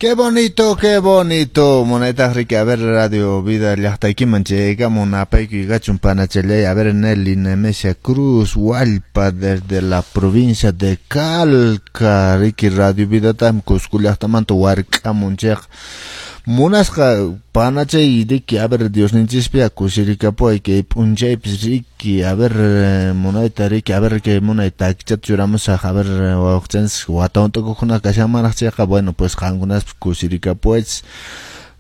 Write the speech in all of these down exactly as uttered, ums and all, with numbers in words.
Qué bonito, qué bonito. Munaytaq riki, a ver, Radio Vida llaqtaykiman chayaykamun apaykuy kachun panachallay. A ver, Nelly Nemesia Cruz, Huallpa, desde la provincia de Calca. Riki, Radio Vidatam Cusco llaqtamanta wark'amun chayqa. Munasqa panachay riki, a ver, Diosninchispia kusirikapuway kay p'unchaypis riki, a ver, munayta riki, a ver, kay munay takichata churamusaq, a ver, wawqichanchis wata hunt'akuqkuna kashanmanraq chayqa, bueno, pues qankunaspas kusirikapuwaychis.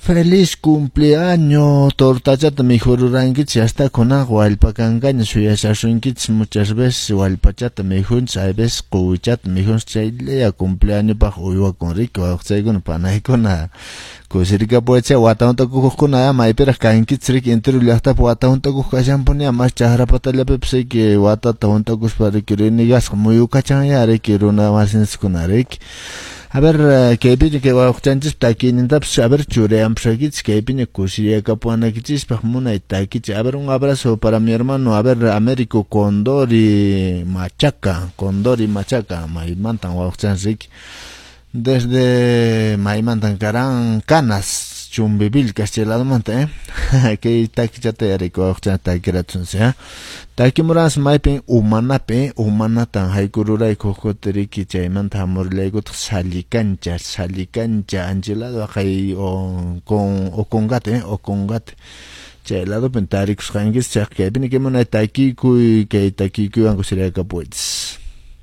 Feliz cumpleaños, tortachata mikhururankichis, hasta kunaqa wallpa kankaña suyashasunkichis muchas veces wallpachata mikhunchis, hay veces quwichata mikhunchis, chaylla cumpleañopaq uywakun riki, wawqichaykuna panaykuna kusirikapuwaychis wata hunt'akuqkuna maypiraq kankichis riki entero llaqtapi wata hunt'akuq kashanpuni mas chakra patallapipis riki watata hunt'akuspa riki rinigasqa muyukachanya riki runa masinchiskuna riki. A ver, kaypiña kay wawqichanchis takiynintapas a ver churayanpusaykichis kaypiña kusiriyakapuwanaykichispaq munay takichi. A ver, un abrazo para mi hermano, a ver, Américo Condori Machaca, Condori Machaca, maymantan wawqichanchis riki. Desde maymantan karan Canas, Chumbivilcas chay ladomanta, eh? Kay takichata yariko wawqichan takiratunsi, eh? Takimuransi maypin umanapi, umanatan haykururayku huk kuti riki chaymanta hamurillaykutaq Sallicancha, Sallicancha anchilado haqay o con Ocongate, eh? Ocongate. Chay ladopin tarikusqankichis chayqa kaypina kay munay takikuy, kay takikuywan kusiriyakapuwaychis.